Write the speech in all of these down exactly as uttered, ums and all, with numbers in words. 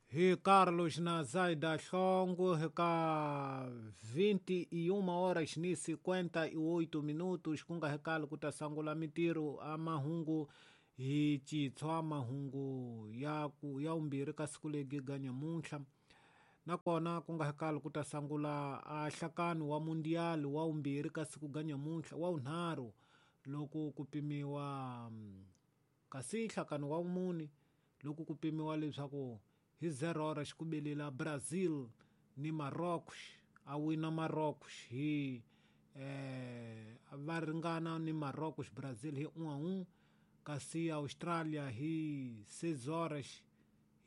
Hi Carlos Nazaida Xongo, ka vinte e uma horas ni cinquenta e oito minutos, kunga hekalo kutasangula mitiro a mahungu hi chitshwa mahungu ya ku ya umbirhi ka siku legi ga nyamuntlha. Nakona kunga hekalo kutasangula a hlakano wa mundial wa umbirhi ka siku ga nyamuntlha wa unharhu loko ku pimiwa kasi hlakano wa mune loko ku pimiwa leswaku hi zero horas xikubelela Brazil ni Marrocos a wina Marrocos hi eh va ringana ni Marrocos Brazil hi un a un, kasi Australia hi seis horas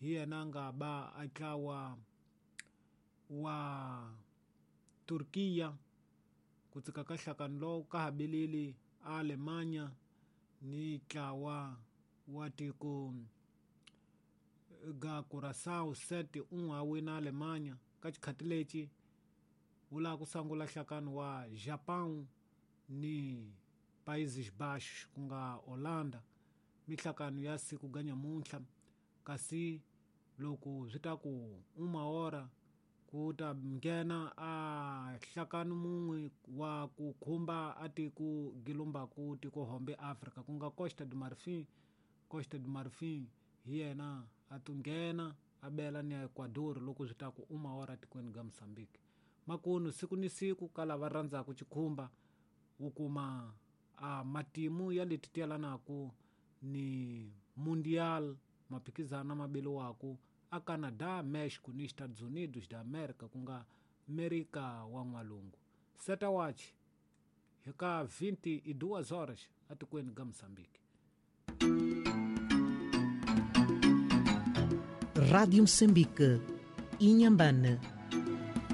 hi yena nga ba a tlawa wa Turkiya ku tsika ka hlakano lowu ka ha beleli Alemanha ni tlawa wa tiko ga Curaçao sete um a wina Alemanha ka xikhati lexi wu lava ku sungula hlakano wa Japão ni Países Baixos ku nga Holanda mihlakano ya siku ga nyamuntlha. Kasi loko swi ta ku uma hora ku ta nghena a hlakano mun'we wa ku khumba a tiko gilumbaku tiko hombe Africa ku nga Costa do Marfim. Costa do Marfim hi yena a tunghena a bela ni Ecuador loko swi ta ku uma hora tikweni ga Mozambique. Makunu siku ni siku ka lava rhandzaka xikhumba wu kuma a matimu ya leti ti yelanaku ni mundial maphikizano ma beliwaku a Canada, Mexico ni Estados Unidos da America ku nga Amerika wa N'walungu. Seta watch hi ka vinte e duas horas atikweni ga Mozambique. Rádio Moçambique, Inhambane.